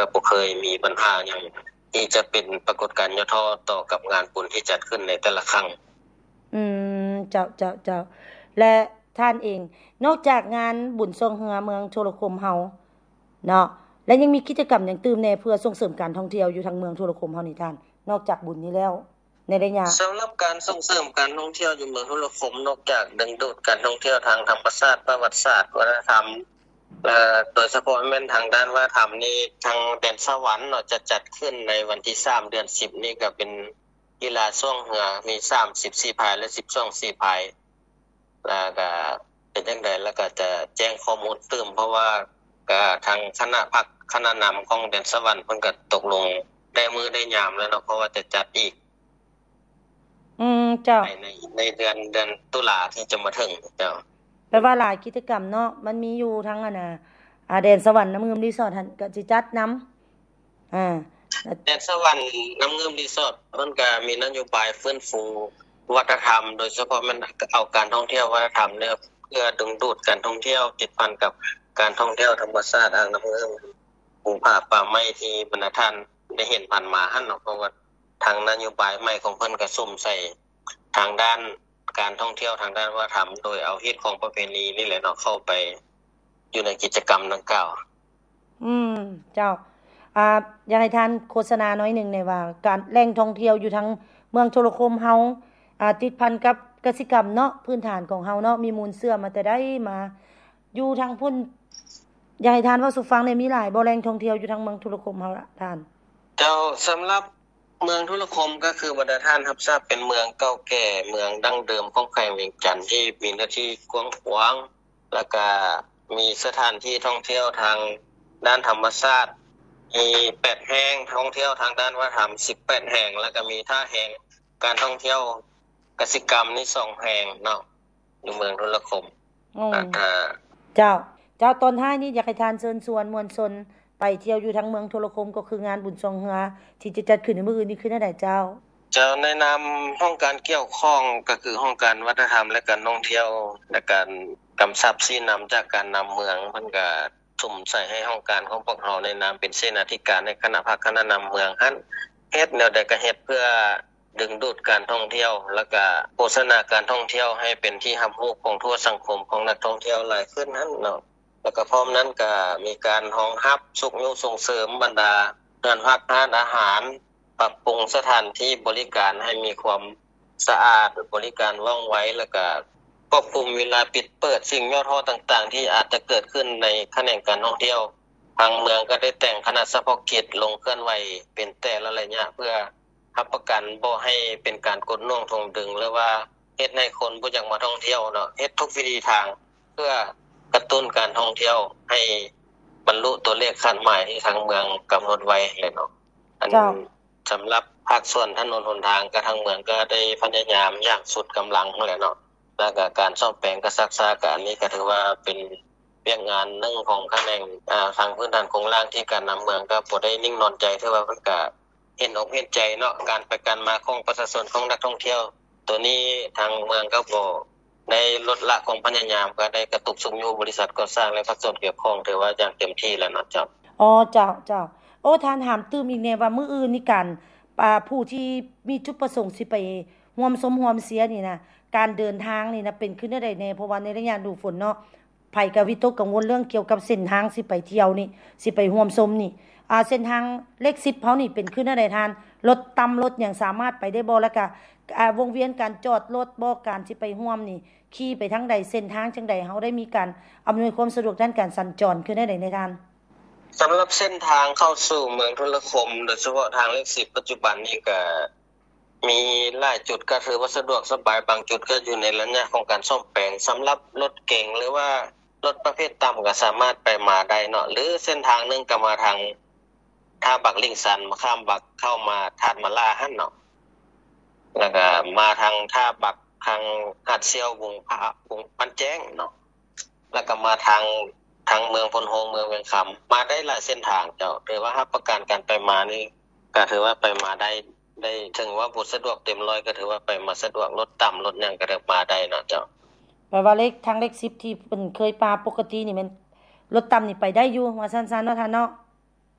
ກໍບໍ່ເຄີຍມີບັນຫາຫຍັງທີ່ຈະເປັນປາກົດການຫຍໍ້ທໍ້ຕໍ່ກັບງານບຸນທີ່ຈັດຂຶ້ນໃນແຕ່ລະຄັ້ງ. ອືມ ເຈົ້າ ເຈົ້າ ເຈົ້າ. ແລະທ່ານເອງ ນອກຈາກງານບຸນຊ່ວງເຮືອເມືອງໂທລະຄົມເຮົາເນາະ ແລະຍັງມີກິດຈະກຳຫຍັງຕື່ມແດ່ ເພື່ອສົ່ງເສີມການທ່ອງທ່ຽວຢູ່ທາງເມືອງໂທລະຄົມເຮົານີ້ທ່ານ ນອກຈາກບຸນນີ້ແລ້ວ ໃນໄລຍະ? ສຳລັບການສົ່ງເສີມການທ່ອງທ່ຽວຢູ່ເມືອງໂທລະຄົມ ນອກຈາກດຶງດູດການທ່ອງທ່ຽວທາງທຳມະຊາດ, ປະຫວັດສາດ, ວັດທະນະທຳ ແລະ ໂດຍສະເພາະແມ່ນທາງດ້ານວັດທະນະທຳນີ້ ທາງແດນສະຫວັນເນາະ ຈະຈັດຂຶ້ນໃນວັນທີສາມ ເດືອນສິບນີ້ ກໍເປັນ ກິລາຊ່ວງເຮືອມີສາມສິບສີ່ພາຍ ແລະ ສິບສອງສີພາຍ ແລ້ວກະເປັນຈັ່ງໃດ ແລ້ວກະຈະແຈ້ງຂໍ້ມູນຕື່ມ ເພາະວ່າກະທາງຄະນະພັກຄະນະນຳຂອງແດນສະຫວັນ ເພິ່ນກະຕົກລົງໄດ້ມື້ໄດ້ຍາມແລ້ວເນາະ ເພາະວ່າຈະຈັດອີກ ອືມ ເຈົ້າ ໃນ ໃນເດືອນ ເດືອນຕຸລາທີ່ຈະມາເຖິງ ເຈົ້າ. ແປວ່າຫຼາຍກິດຈະກຳເນາະ ມັນມີຢູ່ທັງອັນນ່າ ອາ ແດນສະຫວັນນ້ຳງື່ມຣີສອດຫັ້ນກະຊິຈັດນຳ ອາ ແດນສະຫວັນນ້ຳງື່ມຣີສອດ ເພິ່ນກະມີນະໂຍບາຍຟື້ນຟູວັດທະນະທຳ ໂດຍສະເພາະແມ່ນເອົາການທ່ອງທ່ຽວວັດທະນະທຳເນາະ ເພື່ອດຶງດູດການທ່ອງທ່ຽວ ຕິດພັນກັບການທ່ອງທ່ຽວທຳມະຊາດອ່າງນ້ຳງື່ມ ພູຜາປ່າໄມ້ທີ່ບັນດາທ່ານໄດ້ເຫັນຜ່ານມາຫັ້ນເນາະ ເພາະວ່າທາງນະໂຍບາຍໃໝ່ຂອງເພິ່ນກະສຸມໃສ່ທາງດ້ານ ການທ່ອງທ່ຽວທາງດ້ານວັດທະນະທຳ ໂດຍເອົາຮີດຄອງປະເພນີນີ້ແຫຼະເນາະ ເຂົ້າໄປຢູ່ໃນກິດຈະກຳດັ່ງກ່າວ. ອືມ ເຈົ້າ ອາ ຢາກໃຫ້ທ່ານໂຄສະນາໜ້ອຍໜຶ່ງແດ່ວ່າ ການ ແຫຼ່ງທ່ອງທ່ຽວຢູ່ທາງເມືອງໂທລະຄົມເຮົາ ອາ ຕິດພັນກັບກະສິກຳເນາະ ພື້ນຖານຂອງເຮົາເນາະ ມີມູນເຊື້ອມາແຕ່ໃດມາ ຢູ່ທາງພຸ້ນ ຢາກໃຫ້ທ່ານເວົ້າສູ່ຟັງແດ່ ມີຫຼາຍບໍ່ແຫຼ່ງທ່ອງທ່ຽວຢູ່ທາງເມືອງໂທລະຄົມເຮົາລະທ່ານ? ເຈົ້າ ສຳລັບ ເມືອງທຸລະຄົມກໍຄືບັນດາທ່ານຮັບຊາບເປັນເມືອງເກົ່າແກ່ ເມືອງດັ້ງເດີມຂອງແຂວງວຽງຈັນ ທີ່ມີເນື້ອທີ່ກວ້າງຂວາງ ແລ້ວກະມີສະຖານທີ່ທ່ອງທ່ຽວທາງດ້ານທຳມະຊາດ ມີແປດແຫ່ງ, ທ່ອງທ່ຽວທາງດ້ານວັດທະນະທຳສິບແປດແຫ່ງ ແລ້ວກະມີທ່າແຮງການທ່ອງທ່ຽວກະສິກຳນີ້ສອງແຫ່ງເນາະ ຢູ່ເມືອງທຸລະຄົມ. ອືມ ເຈົ້າ ເຈົ້າ ຕອນທ້າຍນີ້ຢາກໃຫ້ທ່ານເຊີນຊວນມວນຊົນໄປທ່ຽວຢູ່ທາງເມືອງທຸລະຄົມ ກໍຄືງານບຸນຊ່ວງເຮືອທີ່ຈະຈັດຂຶ້ນໃນມື້ອື່ນນີ້ຄືແນວໃດເຈົ້າ? ເຈົ້າ ໃນນາມຫ້ອງການກ່ຽວຂ້ອງ ກໍຄືຫ້ອງການວັດທະນະທຳ ແລະ ການທ່ອງທ່ຽວ ແລະ ການກຳຊັບຊີ້ນຳຈາກການນຳເມືອງ ເພິ່ນກະສຸມໃສ່ໃຫ້ຫ້ອງການຂອງພວກເຮົາໃນນາມເປັນເສນາທິການໃນຄະນະພັກຄະນະນຳເມືອງຫັ້ນ ເຮັດແນວໃດກະເຮັດເພື່ອ ດຶງດູດການທ່ອງທ່ຽວ ແລ້ວກະໂຄສະນາການທ່ອງທ່ຽວໃຫ້ເປັນທີ່ຮັບຮູ້ຂອງທົ່ວສັງຄົມຂອງນັກທ່ອງທ່ຽວຫຼາຍຂຶ້ນຫັ້ນເນາະ ແລ້ວກະພ້ອມນັ້ນກະມີການຮອງຮັບຊຸກຍູ້ສົ່ງເສີມບັນດາເຮືອນພັກຮ້ານອາຫານ ປັບປຸງສະຖານທີ່ບໍລິການໃຫ້ມີຄວາມສະອາດ ບໍລິການວ່ອງໄວ ແລ້ວກະຄວບຄຸມເວລາປິດເປີດ ສິ່ງຫຍໍ້ທໍ້ຕ່າງໆ ທີ່ອາດຈະເກີດຂຶ້ນໃນຂະແໜງການທ່ອງທ່ຽວ. ທາງເມືອງກະໄດ້ແຕ່ງຄະນະສະເພາະກິດລົງເຄື່ອນໄຫວເປັນແຕ່ລະໄລຍະ ເພື່ອ ຮັບປະກັນບໍ່ໃຫ້ເປັນການກົດໜ່ວງຖ່ວງດຶງ ຫຼືວ່າເຮັດໃຫ້ຄົນບໍ່ຢາກມາທ່ອງທ່ຽວເນາະ ເຮັດທຸກວິທີທາງເພື່ອກະຕຸ້ນການທ່ອງທ່ຽວໃຫ້ບັນລຸຕົວເລກຄາດໝາຍທີ່ທາງເມືອງກຳນົດໄວ້ແຫຼະເນາະ. ອັນ ເຈົ້າ ສຳລັບພາກສ່ວນຖະໜົນຫົນທາງ ກະທາງເມືອງກະໄດ້ພະຍາຍາມຢ່າງສຸດກຳລັງຫັ້ນແຫຼະເນາະ ແລ້ວກະການສ້ອມແປງກະຊັກຊ້າ ກະອັນນີ້ກະຖືວ່າເປັນວຽກງານໜຶ່ງຂອງຂະແໜງ ອາ ທາງພື້ນຖານໂຄງລ່າງທີ່ການນຳເມືອງກະບໍ່ໄດ້ນິ່ງນອນໃຈ ຖືວ່າເພິ່ນກະ ເຫັນອົກເຫັນໃຈເນາະ ການໄປການມາຂອງປະຊາຊົນ ຂອງນັກທ່ອງທ່ຽວ ໂຕນີ້ທາງເມືອງກໍບໍ່ໄດ້ລົດລະຄວາມພະຍາຍາມ ກໍໄດ້ກະຕຸກຊຸກຍູ້ບໍລິສັດກໍ່ສ້າງ ແລະ ພາກສ່ວນກ່ຽວຂ້ອງ ຖືວ່າຢ່າງເຕັມທີ່ແລ້ວເນາະເຈົ້າ. ອໍ ເຈົ້າ ເຈົ້າ. ໂອ້ ທ່ານຖາມຕື່ມອີກແດ່ວ່າ ມື້ອື່ນນີ້ການ ອາ ຜູ້ທີ່ມີຈຸດປະສົງຊິໄປຮ່ວມຊົມຮ່ວມເຊຍນີ້ນະ ການເດີນທາງນີ້ນະ ເປັນຄືແນວໃດແດ່? ເພາະວ່າໃນໄລຍະດູຝົນເນາະ ໃຜກະວິຕົກກັງວົນເລື່ອງກ່ຽວກັບເສັ້ນທາງຊິໄປທ່ຽວນີ້ ຊິໄປຮ່ວມຊົມນີ້ ອາ ເສັ້ນທາງເລກສິບເຮົານີ້ເປັນຄືແນວໃດທ່ານ? ລົດຕ່ຳລົດຫຍັງສາມາດໄປໄດ້ບໍ່? ແລ້ວກະ ອາ ວົງວຽນການຈອດລົດບໍ່? ການຊິໄປຮ່ວມນີ້ ຂີ່ໄປທາງໃດ? ເສັ້ນທາງຈັ່ງໃດ? ເຮົາໄດ້ມີການອຳນວຍຄວາມສະດວກດ້ານການສັນຈອນຄືແນວໃດແດ່ທ່ານ? ສຳລັບເສັ້ນທາງເຂົ້າສູ່ເມືອງທຸລະຄົມ ໂດຍສະເພາະທາງເລກສິບ ປັດຈຸບັນນີ້ກະ ມີຫຼາຍຈຸດກໍຖືວ່າສະດວກສະບາຍ, ບາງຈຸດກໍຢູ່ໃນໄລຍະຂອງການສ້ອມແປງ. ສຳລັບລົດເກັງ ຫຼືວ່າລົດປະເພດຕ່ຳກໍສາມາດໄປມາໄດ້ເນາະ, ຫຼືເສັ້ນທາງໜຶ່ງກໍມາທາງທ່າບັກລິ້ງຊັນ, ມາຂ້າມບັກເຂົ້າມາທາດມະຫຼ້າຫັ້ນເນາະ, ແລ້ວກໍມາທາງທ່າບັກ ທາງຫາດສ່ຽວ ວງພະ ວງບ້ານແຈ້ງເນາະ. ແລ້ວກໍມາທາງ ທາງເມືອງໂພນໂຮງ ເມືອງວຽງຄຳ ມາໄດ້ຫຼາຍເສັ້ນທາງເຈົ້າ. ຖືວ່າຮັບປະກັນການໄປມານີ້ ກໍຖືວ່າໄປມາໄດ້ ໄດ້ ເຖິງວ່າບໍ່ສະດວກເຕັມຮ້ອຍ ກໍຖືວ່າໄປມາສະດວກ, ລົດຕ່ຳລົດຫຍັງກໍໄດ້ມາໄດ້ເນາະເຈົ້າ. ແປວ່າເລກ ທາງເລກສິບທີ່ເພິ່ນເຄີຍປາປົກກະຕິນີ້ແມ່ນລົດຕ່ຳນີ້ໄປໄດ້ຢູ່ ວ່າຊັ້ນໆເນາະທ່ານເນາະ.